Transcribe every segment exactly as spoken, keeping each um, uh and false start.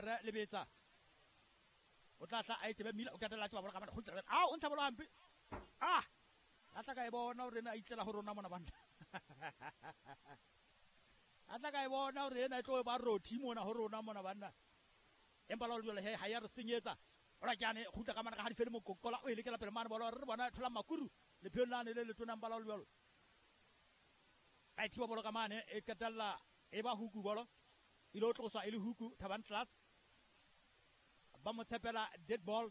Mellere lebetsa o tla tla a etsebe Mila o qetella tseba bolo ka mane kgutla a o ntsha bolo hampe ah a tla ka e bona hore na itlela ho rona mona banna a tla ka e bona hore ena e tlo ba rothi mona ho rona mona banna empa la jwale he ha ya re senyetsa ora jane kgutla ka mane ka ha di fele mokokola o e lekela pele mane bolo re bona thola makuru lephelo lane le letona mbala o jwalo a thiba bolo ka mane e qetella e ba huku bolo ile o tloswa e le huku Thabang Class ba mo tshepela dead ball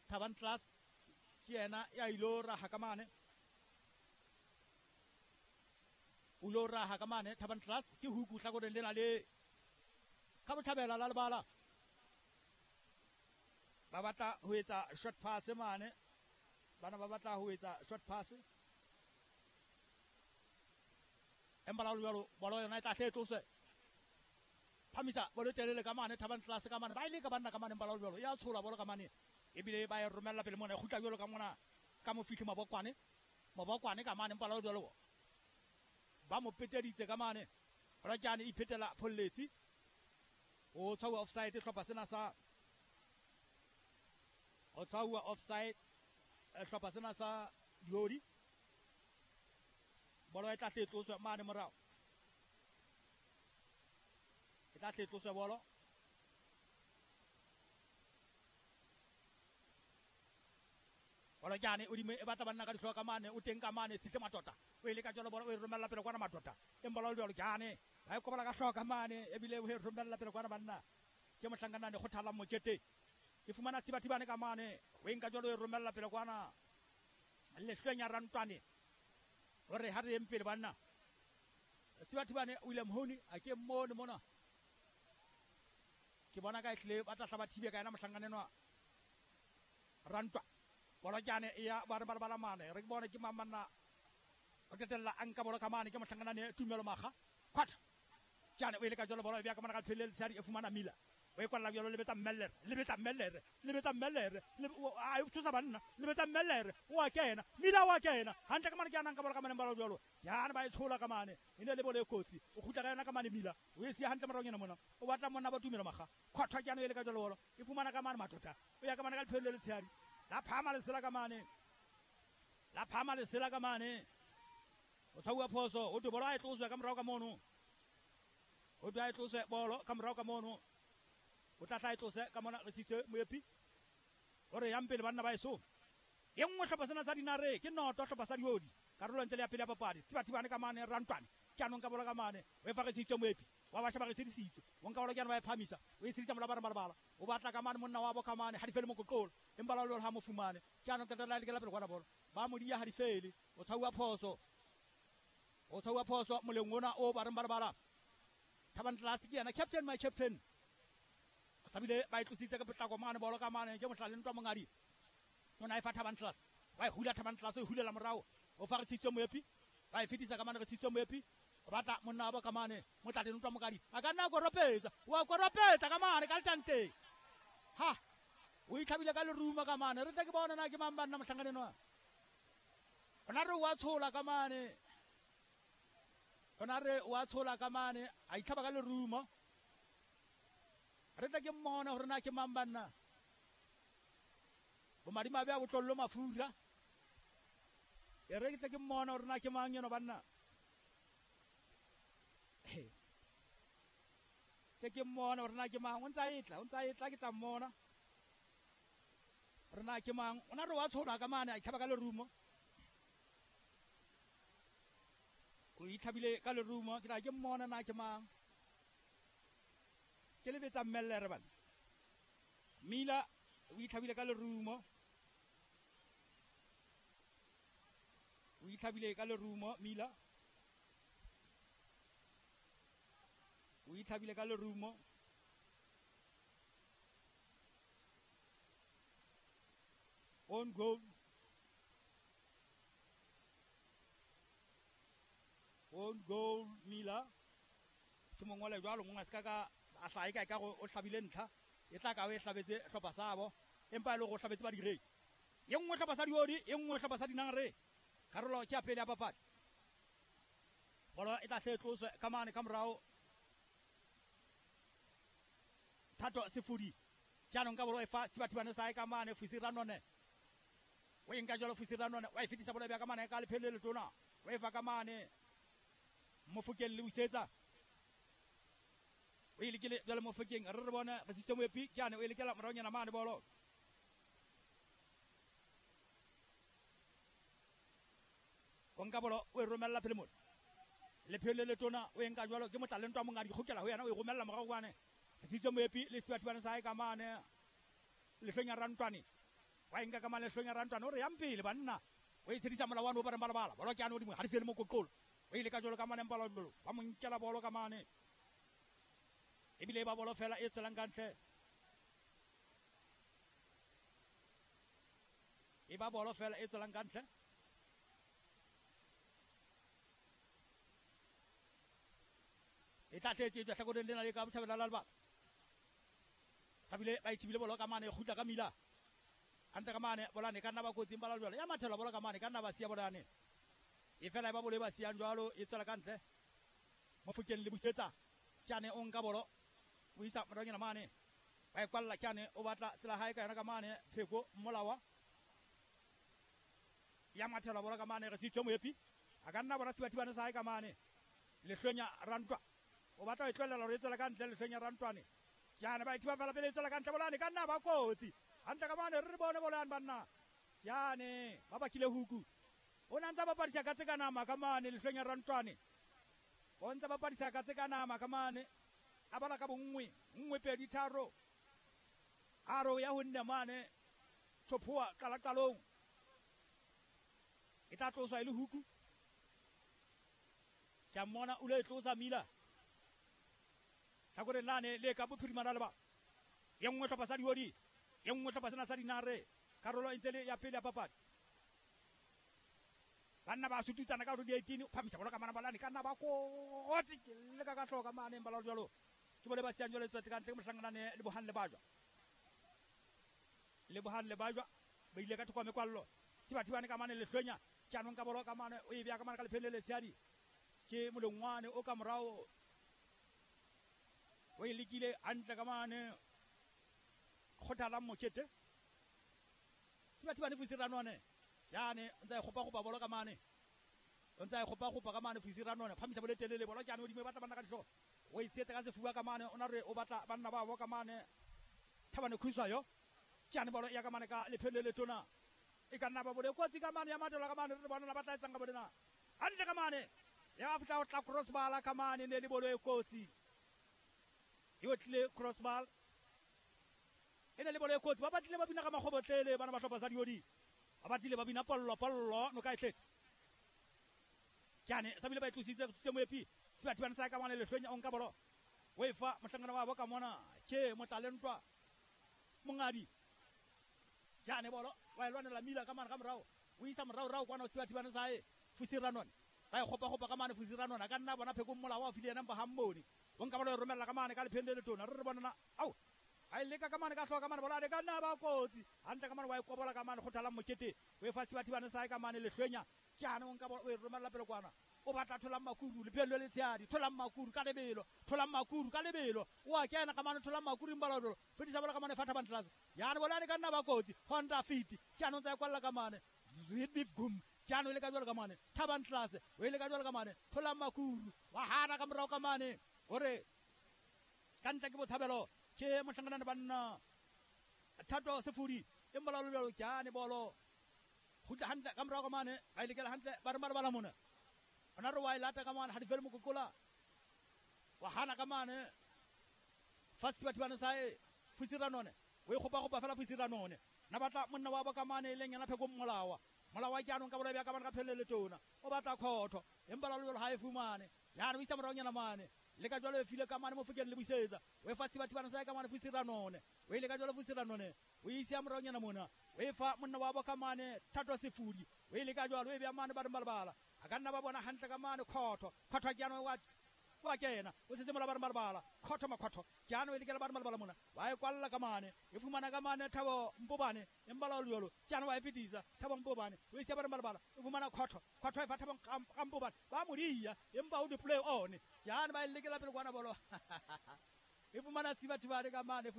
Thabang Class ke yena ya ilo raha ka mane o lo raha ka mane Thabang Class ke huku hlakoreng lena le ka botjhabela la lebala ba batla ho etsa short pass mane bana ba batla ho etsa short pass empa la jwalo bolo yona e tla hle tlose phamisa bolo telele ka mane Thabang Class ka mane ba ile ka banna ka mane empa la jwalo ya tshola bolo ka mane ebile ba e romella pele mona e kgutla jwalo ka mona ka mofihli Mabokwane Mabokwane ka mane empa la jwalo ba mo peteditse ka mane Rajane iphetela pholletsi o tshwauwa offside hlopha sena sa o tshwauwa offside hlopha sena sa Diodi bolo e tla hle tloswe mane morao e tla hle tloswe bolo bolo jane o dime e batla banna ka dihlooho ka mane o teng ka mane Sihle Matota o ile ka jalo bolo o e romella pele kwana Matota empa la jalo jane ba e kobola ka hlooho ka mane ebile o e romella pele kwana banna ke mohlankanane kgothala mokete ke fumana Thibathibane ka mane o e nka jalo o e romella pele kwana Lehlwenya Rantwane hore ha re yeng pele banna Thibathibane William Honi a ke mmone mona ke bona ka ehlile ba tla hla ba thibe ka yena mohlankanenwa Rantwa bolo jane ya ba re ba bala mane re ke bone ke mang manna o qetella a nka bolo ka mane ke mohlankanane Tumelo Makga kwat jane o ile ka jalo bolo e bea ka mane ka phelele letshadi e fumana Mila o e kwalla jalo lebetsa Mellere lebetsa Mellere lebetsa Mellere a e thusa banna lebetsa Mellere o a kena Mila o a kena hantle ka mane ke anang ka bolo ka mane bolo jalo jane ba e tshola ka mane e ne le bolo e kotsi o kgutla ka yona ka mane Mila o e siya hantle morao nyana mona o batla monna ba Tumelo Makga khwathwa jane o ile ka jalo bolo e fumana ka mane Matota o ya ka mane ka phelele letshadi la phama lesela ka mane la phama lesela ka mane o tshauwa phoso o twe bolo a e tloswe ka morao ka mono o twe a e tloswe bolo ka morao ka mono o tla tla e tlose ka mona re sitse moepi o re yang pele banna ba eso e nngwe hlopha sena sa Dinare ke noto hlopha sa Diodi karolo ntle le ya pele ya papadi Thibathibane ka mane Rantwane ke anong ka bolo ka mane o e fa re sitse moepi wa basha ba re tshedisitse o nka bolo ke ana ba e phamisa o e tshedisa mola ba re malabala o batla ka mane monna wa bo ka mane ha di fele mokoqolo empa la lona ha mo fumane ke anong ka tla lekela pele kwana bolo ba mo dia ha di fele o tshauwa phoso o tshauwa phoso moleng ona o ba re malabala Thabang Class ke yena captain my captain sabile ba e tlositse ka potlako mane bolo ka mane ke mohlale ntwa mongadi o na e fa Thabang Class wa e hula Thabang Class o hulela morao o fa re tshitse moepi ba e fetisa ka mane re tshitse moepi o batla monna wa ka mane motlate ntwa mongadi a ka nna koropetsa wa koropetsa ka mane ka letanteng ha o itlhabile ka leruma ka mane re tle ke bona na ke mang banna mohlankanenwa ona re wa tshola ka mane ona re wa tshola ka mane a itlhaba ka lerumo re tla ke mmona hore na ke mang banna bomadimabe a botlollo mafura e re ke tla ke mmona hore na ke mang eno banna ke ke mmona hore na ke mang o ntsa e tla o ntsa e tla ke tla mmona hore na ke mang ona re wa tshola ka mane a itlhaba ka lerumo o itlhabile ka lerumo ke tla ke mmona na ke mang ke lebetsa Mellere bana Mila o itlhabile ka lerumo o itlhabile ka lerumo Mila o itlhabile ka lerumo on goal on goal Mila ke mongole jwalo ngwe se ka ka a hlae ka ka go o hlabile ntlha e tla ka o e hlabetse hlopha sabo empa e le go hlabetse ba direi e nngwe hlopha sa Diodi e nngwe hlopha sa Dinare karolo ke ya pele ya papadi bolo e tla hle tloswe ka mane ka morao Thato Sefudi jaanong ka bolo e fa Sebathibane sa ka mane Fusi Ranone o e nka jalo Fusi Ranone wa e fetisa bolo ya ka mane ka lephele le tona o e fa ka mane Mofokeng le busetsa o e lekile jalo Mofokeng re re bone re sitse moepi jaanong o e lekela moraonyana mane bolo o nka bolo o e romella pele mona lephele le tona o e nka jalo ke motlalentwa mongwe a di kgokela ho yena o e romella morago kwane Sitso Moepi le Sebathibane sa ka mane Lehlonya Rantwane wa e nka ka mane Lehlonya Rantwane o re yang pele banna o e tshedisa molao wa no ba re balabala bolo ke ano dingwe ha di fele mokoqolo o ile ka jalo ka mane mpala ba mo nkela bolo ka mane ebile ba bolo fela e tswelang ka ntle e ba bolo fela e tswelang ka ntle e tla tletse tlhakoreng lena le ka botjhabela la lebala sabile ba ithibile bolo ka mane kgutla ka mila hantle ka mane bolane ka nna ba kotsing ba la jwalo ya mathela bolo ka mane ka nna ba siya bolane e fela e ba bolo e ba siyang jwalo e tswela ka ntle Mofokeng le busetsa Tjane o nka bolo o isa moronyana mane ba e kwalla Tjane o batla tsela hae ka yona ka mane Pheko Mmolawa ya mathela bolo ka mane re sitse Moepi a ka nna bona Sebathibane sa hae ka mane Lehlonya Rantwa o batla ho e tlohella hore e tswela ka ntle Lehlonya Rantwane Tjane ba ithiba fela pele e tswela ka ntle bolane ka nna ba kotsi hantle ka mane re re bone bolane banna Tjane ba bakile huku o na ntsa bapadisa ka tse ka nama ka mane Lehlonya Rantwane o ntsa bapadisa ka tse ka nama ka mane a bala ka bonngwe nngwe pedi tharo a re ya ho nne mane Tshophoa qalaqalong e tla tloswa e le huku ke a mmona o lo e tlosa mila tlhakoreng lane le ka bophirimana le ba ye nngwe hlopha sa diodi ye nngwe hlopha sena sa dinare karolo e ntse le ya pele ya papadi banna ba sututsana ka hore di eighteen phamisa bolo ka mana balane ka nna ba kotsi ke leka ka hloka mane ba jalo ke bole ba siyang jalo tswetse ka ntle ke mohlanganane le Bohang le Bajwa le Bohang le Bajwa ba ile ka thoko ya mekwallo Sebathibane ka mane Lehlonya jaanong ka bolo ka mane o e beya ka mane ka lephele le letshehadi ke molongwane o ka morao o e lekile hantle ka mane Kgothalang Mokete Sebathibane Fusi Ranone jane o ntsa e kgopa-kgopa bolo ka mane o ntsa e kgopa-kgopa ka mane Fusi Ranone phamisa bolo e telele bolo jane hodimo e batla banna ka dihlooho o e tsietsa ka sefuba ka mane o na re o batla banna ba bo ka mane Thabane Khuswayo jane bolo ya ka mane ka lephele le letona e ka nna ba bolo e kotsi ka mane ya matela ka mane re bona ba tla etsang ka bolena hantle ka mane ya fihla o tla crossbar ka mane ne le bolo e kotsi e otlile crossbar e ne le bolo e kotsi ba batlile ba bina ka makgobotlele bana ba hlopha sa diodi ba batlile ba bina pollo pollo noka e tletse jane sabile ba e tlositse se Moepi Sebathibane sa ka mane Lehlonya o nka bolo o e fa mohlangana wa bo ka mona ke motlalentwa mongadi jane bolo wa e lwanela mila ka mane ka morao o isa morao rao kwana Sebathibane sa hae Fusi Ranone ba e kgopa-kgopa ka mane Fusi Ranone a ka nna bona Pheko Mmolawa o file yena mpa ha mmone o nka bolo e romella ka mane ka lepheng le letona re re bonana ao a e leka ka mane ka hloka ka mane bolo a ka nna ba kotsi hantle ka mane wa e kobola ka mane Kgothalang Mokete o e fa Sebathibane sa hae ka mane Lehlonya jaanong o nka bolo o e romella pele kwana o batla Tholang Makuru lepheng le letshehadi Tholang Makuru ka lebelo Tholang Makuru ka lebelo o a kena ka mane Tholang Makuru mbalolo fetisa bolo ka mane fa Thabane Tlase jaanong bolo ane ka nna ba kotsi Honda Fit jaanong tsa e kwalla ka mane gum jaanong e le ka jalo ka mane Thabane Tlase o e le ka jalo ka mane Tholang Makuru wa hana ka morao ka mane hore ka ntle ke botshabelo ke mohlanganane banna Thato Sefudi e mbalalo jalo jane bolo kgutla hantle ka morao ka mane ba e lekela hantle ba re malabala mona ona re wa e lata ka mane ha di fele mokokola wa hana ka mane fa Sebathibane sa hae Fusi Ranone o e kgopa-kgopa fela Fusi Ranone na batla monna wa bo ka mane e leng yena Pheko Mmolawa Molawa jaanong ka bolo ya ka mane ka phelele letona o batla khotho empa la jalo ha e fumane jaanong o isa moraonyana mane le ka jalo e file ka mane Mofokeng le busetsa o e fa Sebathibane sa hae ka mane Fusi Ranone o ile ka jalo Fusi Ranone o isa moraonyana mona o e fa monna wa bo ka mane Thato Sefudi o ile ka jalo o e beya mane ba re malabala a ka nna ba bona hantle ka mane khotho khotho jaanong wa wa kena o setse mola ba re malabala khotho makhotho jaanong e lekela ba re malabala mona wa e kwalla ka mane e fumana ka mane Thabo Mpobane empa la jalo jaanong wa e fetisa Thabo Mpobane o isa ba re malabala e fumana khotho khotho e fa Thabo Mpobane ba mo dia empa o di play on jaanong ba e lekela pele kwana bolo E fumana Siba Thibane ka mane.